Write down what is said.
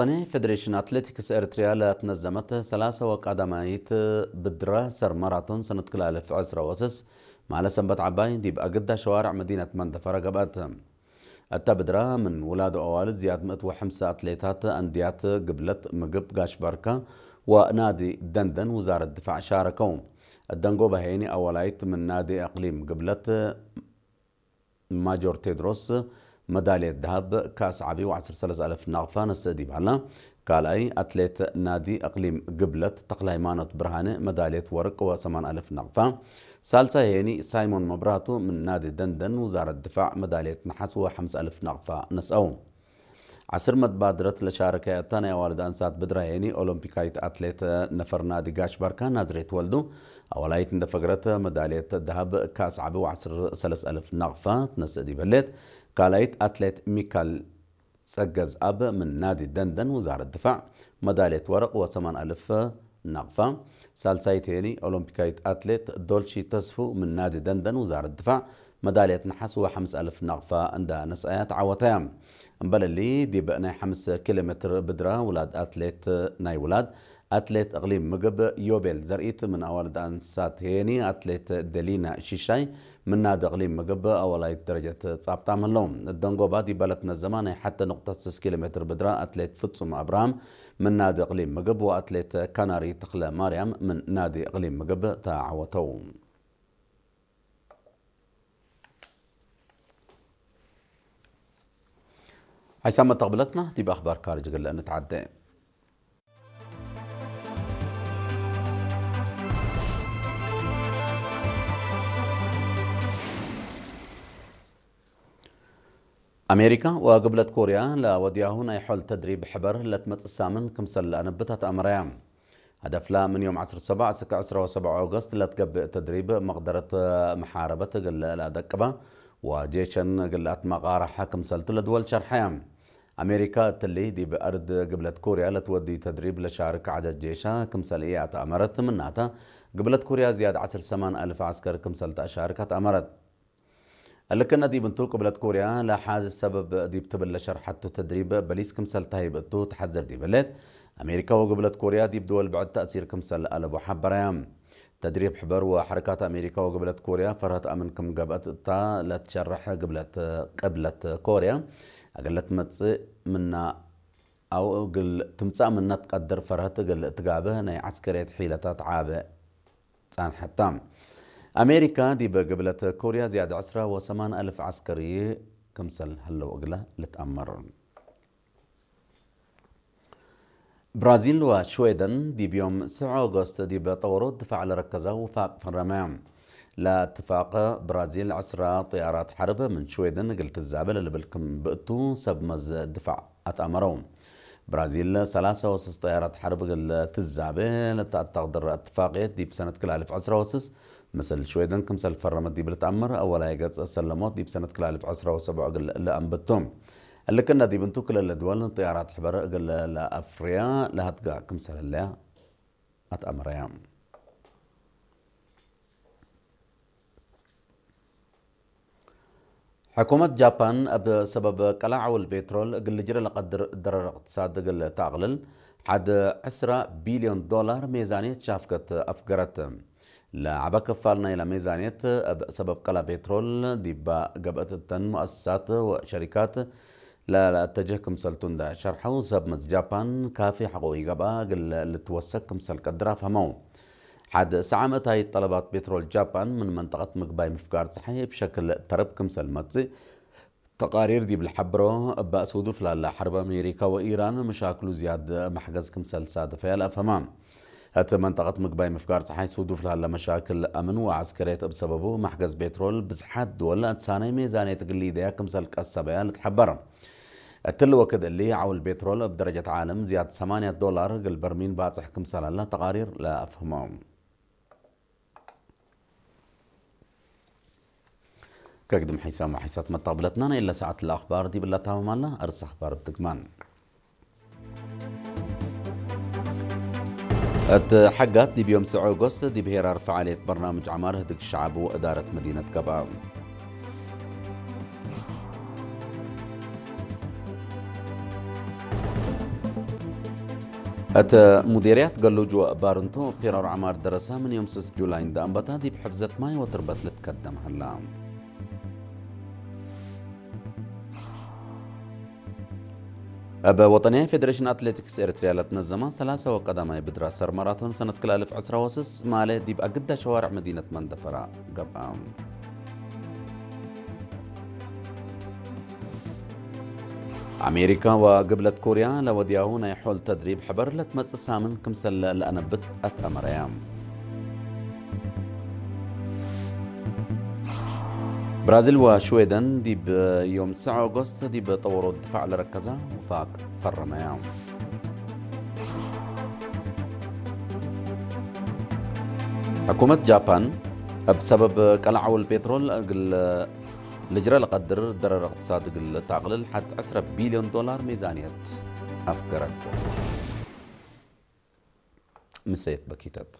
ፌዴሬሽን ኣትሌቲክስ ኤርትርያ ለትነዘመት ሰላሳ ወቃዳማይት ብድረ ሰር ማራቶን ሰነት ክላለፍ ዕስራ ወስስ ማለ ሰንበት ዓባይ ዲብ ኣግዳ ሸዋርዕ መዲነት መንደፈረ ገብአት። እታ ብድራ ምን ውላዱ ኣዋልድ ዝያድ ምእት ወሐምሳ ኣትሌታት ኣንድያት ግብለት ምግብ ጋሽ ባርካ ወናዲ ደንደን ውዛረት ድፋዕ ሻረከው። ደንጎ ባሄኒ ኣዋላይት ምን ናዲ ኣቅሊም ግብለት ማጆር ቴድሮስ መዳልየት ደሃብ ካስ ዓቢ ወ ዓሰርተ ሰለስተ ኣልፍ ናቕፋ ነስእ ዲባላ። ካልኣይ ኣትሌት ናዲ ኣቕሊም ግብለት ተኽለ ሃይማኖት ብርሃነ መዳልየት ወርቅ ወ ሰማን ኣልፍ ናቕፋ። ሳልሳይ ሄኒ ሳይሞን መብራቱ ምን ናዲ ደንደን ውዛረት ድፋዕ መዳልየት ነሓስ ወ ሓምሳ ኣልፍ ናቕፋ ነስአው። ዓስር መባድረት ለሻረከ እታ ናይ ኣዋልድ ኣንሳት ብድራ ሄኒ ኦሎምፒካይት ኣትሌት ነፈር ናዲ ጋሽ ባርካ ናዝሬት ወልዱ ኣዋላይት እንደፈግረት መዳልየት ደሃብ ካስ ዓቢ ወ ዓሰርተ ሰለስተ ኣልፍ ናቕፋ ትነስእ ዲበሌት። ካልኣይት ኣትሌት ሚካል ጸገዝ ኣብ ምን ናዲ ደንደን ውዛረት ድፋዕ መዳልየት ወረቕ ወ ሰማን ኣልፍ ናቕፋ። ሳልሳይት ሄኒ ኦሎምፒካይት ኣትሌት ዶልሺ ተስፉ ምን ናዲ ደንደን ውዛረት ድፋዕ መዳልየት ነሓስ ወ ሓምሳ ኣልፍ ናቕፋ እንዳ ነስኣያ ተዓወተያ። እምበለሊ ዲብ ናይ ሓምስ ኪሎ ሜትር ብድራ ውላድ ኣትሌት ናይ ውላድ ኣትሌት እቕሊም ምግብ ዮቤል ዘርኢት ምን ኣዋልድ ኣንሳት ሄኒ ኣትሌት ደሊና ሽሻይ ምን ናዲ እቕሊም ምግብ ኣዋላይት ደረጀት ጻብጣም ኣለዉ። ደንጎባ ዲበለት ነዘማ ናይ ሓተ ነቑጣ ስስ ኪሎ ሜትር ብድራ ኣትሌት ፍጹም ኣብርሃም ምን ናዲ እቕሊም ምግብ ወኣትሌት ካናሪ ተኽለ ማርያም ምን ናዲ እቕሊም ምግብ ተዓወተው። ሓይሳብ መተቕብለትና ዲብ ኣኽባር ካርጅ ግለ እንተዓደ። ኣሜሪካ ወግብለት ኮርያ ለወዲያሁ ናይ ሖል ተድሪብ ሕበር ለትመጽእ ሳምን ክምሰል ለኣነብታት ኣመራያ። هدف لا من يوم عشرة سبعة እስከ عشرة وسبعة أغسطس ለትገብእ ተድሪብ መቕደረት መሓረበት እግል ለደቅባ ወጄሸን እግል ኣትመቓረሓ ክምሰልቱ ለድወል ሸርሓያ። ኣሜሪካ እትሊ ዲብ ኣርድ ግብለት ኮርያ ለትወዲ ተድሪብ ለሻርክ ዓጃጅ ጄሻ ክምሰል እያ ተኣመረት ምናታ ግብለት ኮርያ ዝያድ ዓስር ሰማን ኣልፍ ዓስከር ክምሰል ተኣሻርካ ተኣመረት። እልክነ ዲብ እንቱ ቅብለት ኮርያ ለሓዚ ሰበብ ዲብ ትብል ለሸርሐቱ ተድሪብ በሊስ ክምሰል ተሂብእቱ ተሓዘር ዲበለት፣ ኣሜሪካ ወግብለት ኮርያ ዲብ ድወል ብዕድ ተእሲር ክምሰል ኣለቦ ሓበራያ። ተድሪብ ሕበር ወሐረካት ኣሜሪካ ወግብለት ኮርያ ፈርሀት ኣምን ክም ገብአት እታ ለትሸርሕ ግብለት ቅብለት ኮርያ፣ ኣገለት መጽእ ምና ኣው እግል ትምጻእ ምነት ቀድር ፈርሀት እግል እትጋብህ ናይ ዓስከርየት ሒለታት ዓበ ጻንሐታ። ኣሜሪካ ዲብ ግብለት ኮርያ ዝያድ ዕስራ ወሰማን ኣልፍ ዓስከሪ ክምሰል ህለው እግለ ልትኣመር። ብራዚል ወሽዌደን ዲብ ዮም ስዑ ኦገስት ዲብ ጠወሮ ድፋዕ ለረከዛ ውፋቅ ፈረመያ። ለትፋቅ ብራዚል ዕስራ ጥያራት ሐርብ ምን ሽዌደን እግል ትዛበ ለልብል ክም ብእቱ ሰብ መዝ ድፋዕ ኣትኣመረው። ብራዚል ሰላሳ ወሰስ ጠያራት ሐርብ እግል ትዛበ ለተኣታቅድር እትፋቅየት ዲብ ሰነት ክላልፍ ዕስራ ወስስ ምስል ሽዌደን ክምሰል ፈረመት ዲብ ልትኣመር ኣወላይ ገጽ ሰለሞት ዲብ ሰነት ክላልፍ ዕስራ ወሰብዑ እግል ለኣንብቱ። እልክነ ዲብ እንቱ ክልል ድወል ጥያራት ሕበር እግል ለኣፍርያ ለሃትጋ ክምሰል ህለያ ኣትኣመረያ። ሕኩመት ጃፓን እብ ሰበብ ቀላዕ ውል ቤትሮል እግል ልጅረ ለቀድር ደረር እቅትሳድ እግል ተኣቅልል፣ ሓድ ዕስራ ቢልዮን ዶላር ሜዛንየት ሻፍከት ኣፍገረት። ለዓበ ክፋል ናይላ ሜዛንየት እብ ሰበብ ቀላ ቤትሮል ዲባ ገብአት እተን ሙአሰሳት ወሸሪካት ለለአተጅህ ክምሰልቱ እንዳ ሸርሐው፣ ሰብ መዝ ጃፓን ካፊ ሐቆ ይገብአ እግል ልትወሰክ ክምሰል ቀድር ኣፍሀመው። ሓድ ሰዓመት ኣይ ጠለባት ቤትሮል ጃፓን ምን መንጠቀት ምግባይ ምፍጋር ጸሓይ ብሸክል ተርብ ክምሰል መጽእ ተቃሪር ዲብ ልሐብሮ፣ እባ ሱዱፍ ላላ ሐርብ ኣሜሪካ ወኢራን መሻክሉ ዝያድ መሕገዝ ክምሰል ሳድፈያ ለአፍሀማ። እት መንጠቀት ምግባይ ምፍጋር ጸሓይ ሱዱፍ ላላ መሻክል ኣምን ወዓስከርየት እብ ሰበቡ መሕገዝ ቤትሮል ብዝሓት ድወል እትሳነይ ሜዛንየት ግሊደያ ክምሰል ቀሰበያ ልትሐበር። እትሊ ወክድ እሊ ዓውል ቤትሮል እብ ደረጀት ዓለም ዝያድ ሰማንያ ዶላር እግል በርሚን ባጽሕ ክምሰል ኣላ ተቃሪር ለአፍህሞ። ከግድም ሒሳም ወሒሳት መታብለትና ናይ እለ ሰዓት ለአኽባር ዲብላ ታምም ኣላ። ኣርስ ኣኽባር ብትግማን። እት ሐጋት ዲብ ዮም ስዑ ኦጎስት ዲብ ሄራር ፈዓልየት በርናምጅ ዐማር ህድግ ሸዓብ ወእዳረት መዲነት ገብአ። እተ ሙዴርያት ገሉጅ ወእባርንቶ ፔራር ዓማር ደረሳ ምን ዮም ስስ ጁላይ እንደ ኣንበታ ዲብ ሕፍዘት ማይ ወትርበት ልትከደም ሀላ። ኣብ ወጠንያ ፌዴሬሽን ኣትሌቲክስ ኤርትርያ ለትነዘማ ሰላሳ ወቀዳማይ ብድራ ሰር ማራቶን ሰነት ክልተ ኣልፍ ዕስራ ወስስ ማለ ዲብ ኣግዳ ሸዋርዕ መዲነት መንደፈራ ገብኣ። ኣሜሪካ ወግብለት ኮርያ ለወድያሁ ናይ ሖል ተድሪብ ሕበር ለትመጽእ ሳምን ክምሰለ ለኣነብት ኣትኣመረያ። ብራዚል ወሽዌደን ዲብ ዮም ትስዓ ኦጎስት ዲብ ጠወሮ ድፋዕ ለረከዛ ውፋቅ ፈረመያ። ሕኩመት ጃፓን እብ ሰበብ ቀላዕ ውል ፔትሮል እግል ልጅረ ለቀድር ደረር እቅትሳድ እግል ተዕቅልል ሐድ ዕስረ ቢልዮን ዶላር ሚዛንየት ኣፍገረት። ምሰየት በኪተት።